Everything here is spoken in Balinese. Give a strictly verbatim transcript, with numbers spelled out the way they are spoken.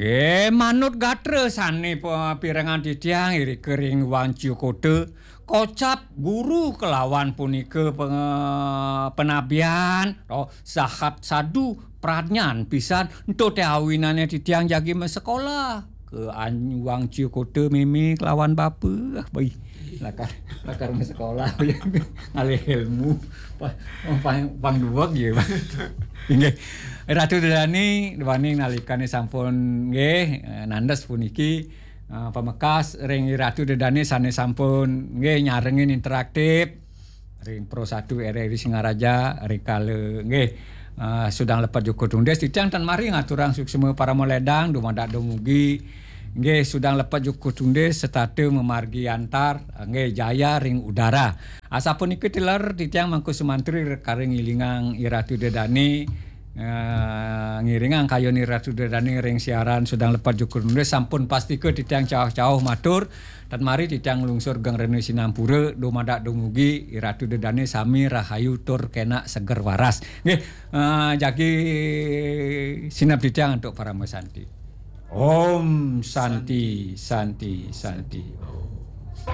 Nggih, manut gatra sane pe-, pirengang titiang irika ring Wangciakota, kocap guru kelawan punika pe-, penabian, oh, sahat sadu pradnyan pisan, ento te awinane titiang jagi masekolah ke an-, Wangciakota meme kelawan bapa. Bai, lakar, lakar masekolah, ngalih ilmu. Pang, pang, pang duweg ya, Bang. Inggih. Ratu Dedani, duaning nalikane sampun nggih, eh, nandes puniki, eh, pamekas ring Ratu Dedani sane sampun nggih nyarengin interaktif ring Pro satu R R I Singaraja, rikala nggih, eh, sudang lepet juku tundis, titiang tan mari ngaturang suksma parama ledang, dumadak dumugi, nggih, sudang lepet juku tundis, setata mamargi antar, nggih, jaya ring udara. Asapunika tilar titiang Mangku Sumantri rekaring ngilingang Iratu Dedani, eh, ngiringang kayun Iratu Dedani ring siaran sudang lepet juku tundis, sampun pastika titiang cauh-cauh matur, tan mari titiang nglungsur geng rena sinampura, dumadak dumugi Iratu Dedani sami rahayu tur kenak seger waras. Nggih, eh, jagi sineb titiang antuk parama santi. Om Santi, Santi, Santi.